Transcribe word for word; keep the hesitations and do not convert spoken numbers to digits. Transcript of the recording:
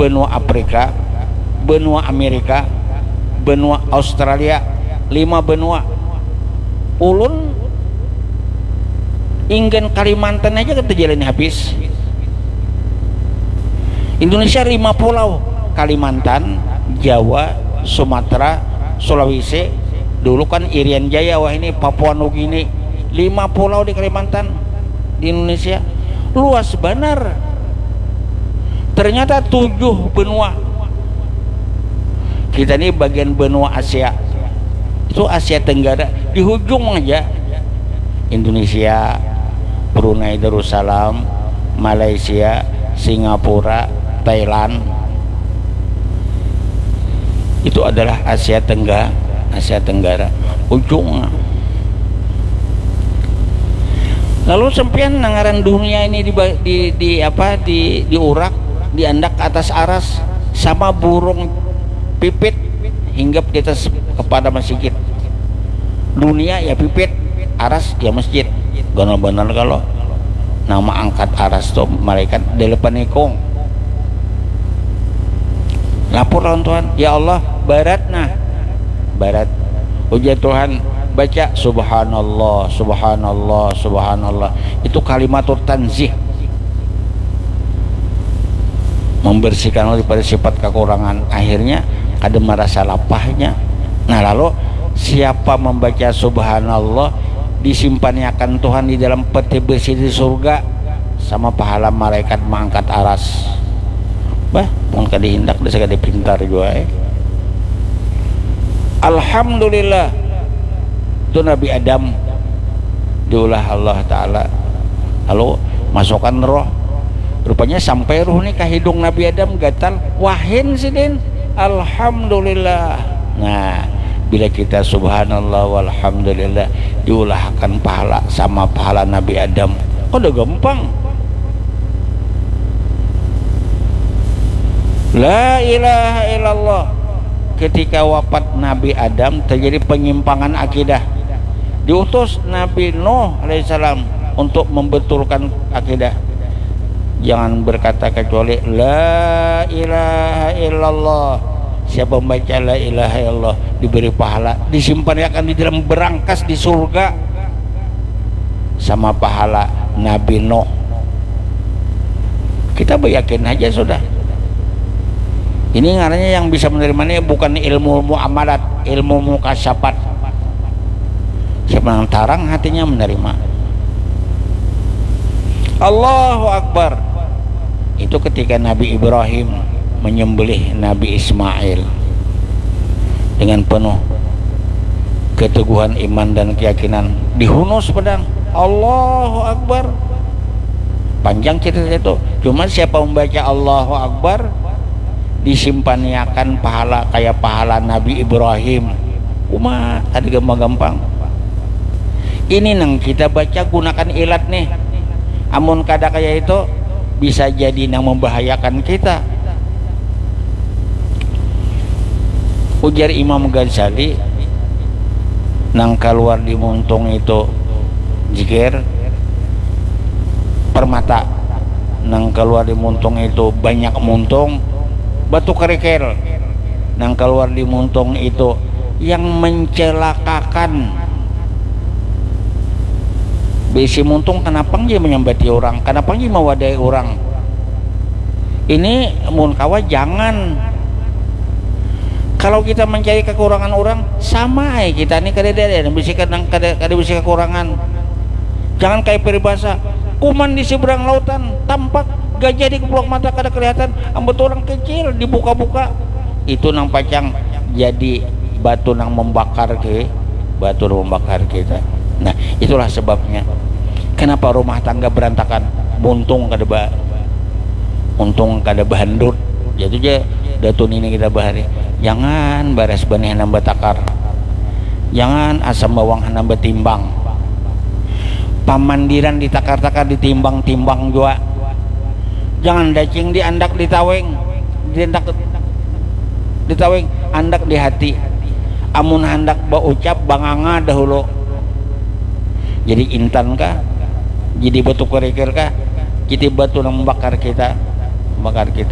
benua Afrika, benua Amerika, benua Australia, lima benua. Ulun inggan Kalimantan aja kita jalani habis. Indonesia lima pulau, Kalimantan, Jawa, Sumatera, Sulawesi, dulu kan Irian Jaya, wah ini Papua Nugini, lima pulau di Kalimantan, di Indonesia, luas banar. Ternyata tujuh benua. Kita ini bagian benua Asia. Itu Asia Tenggara, di hujung aja. Indonesia, Brunei Darussalam, Malaysia, Singapura, Thailand. Itu adalah Asia Tengga-, Asia Tenggara. Ujung. Lalu sampean nang ngaran dunia ini di, di, di apa, di, diurak, diandak ke atas aras sama burung pipit hinggap di atas kepala masjid. Dunia ya pipit, aras ya masjid. Ganal banar kalau nama angkat aras tuh malaikat delapan ikung. Lapor lawan Tuhan, "Ya Allah, barat nah." Barat. Ujar Tuhan, "Baca subhanallah, subhanallah, subhanallah." Itu kalimatut tanzih. Membersihkan daripada sifat kekurangan. Akhirnya kada merasa lapahnya. Nah, lalu siapa membaca subhanallah disimpannya akan Tuhan di dalam peti besi di surga sama pahala malaikat mengangkat aras. Bah, mun kada hindak, kada pintar jua, eh. Alhamdulillah, itu Nabi Adam diulah Allah Ta'ala, lalu masukkan roh. Rupanya sampai roh ni ka hidung Nabi Adam, gatal, wahin sidin. Alhamdulillah. Nah, bila kita subhanallah walhamdulillah, diulahakan pahala sama pahala Nabi Adam. Kada gampang. La ilaha illallah. Ketika wafat Nabi Adam, terjadi penyimpangan akidah. Diutus Nabi Nuh alaihissalam untuk membetulkan akidah. Jangan berkata kecuali la ilaha illallah. Siapa membaca la ilaha illallah diberi pahala, disimpan akan di dalam berangkas di surga sama pahala Nabi Nuh. Kita beryakin aja sudah. Ini ngarannya yang bisa menerima ini bukan ilmu muamalat, ilmu mukasyapat. Siapa yang tarang hatinya menerima. Allahu Akbar. Itu ketika Nabi Ibrahim menyembelih Nabi Ismail dengan penuh keteguhan iman dan keyakinan, dihunus pedang. Allahu Akbar. Panjang cerita itu. Cuma siapa membaca Allahu Akbar, disimpannya akan pahala kayak pahala Nabi Ibrahim. Uma, kada gampang-gampang. Ini nang kita baca gunakan ilat nih. Amun kada kayak itu, bisa jadi nang membahayakan kita. Ujar Imam Ghazali, nang keluar di muntung itu jikir, permata, nang keluar di muntung itu banyak muntung, batu kerikil, nang keluar di muntung itu yang mencelakakan. Bisi muntung, kenapa nggih menyambati orang, kenapa nggih mewadai orang? Ini mun kawa jangan. Kalau kita mencari kekurangan orang, sama ai kita ni kada ada, ada bisi kada, kada, kada bisi kekurangan. Jangan kayak peribahasa, kuman di seberang lautan tampak, gajah di keplok mata kada kelihatan, ambut orang kecil dibuka-buka. Itu nang pacang jadi batu nang membakar ke, batu nang membakar kita. Nah, itulah sebabnya kenapa rumah tangga berantakan. Muntung kada ba, untung kada bahandut. Jatuh ja datu nini kita bahari. Jangan baras banih hanam batakar. Jangan asam bawang hanam batimbang. Pamandiran ditakar-takar, ditimbang-timbang jua. Jangan dacing diandak ditawing, diandak ditawing, andak di hati. Amun handak baucap, banganga dahulu. Jadi intan kah? Jadi batu kerikil kah? Jadi batu nang membakar kita, membakar kita.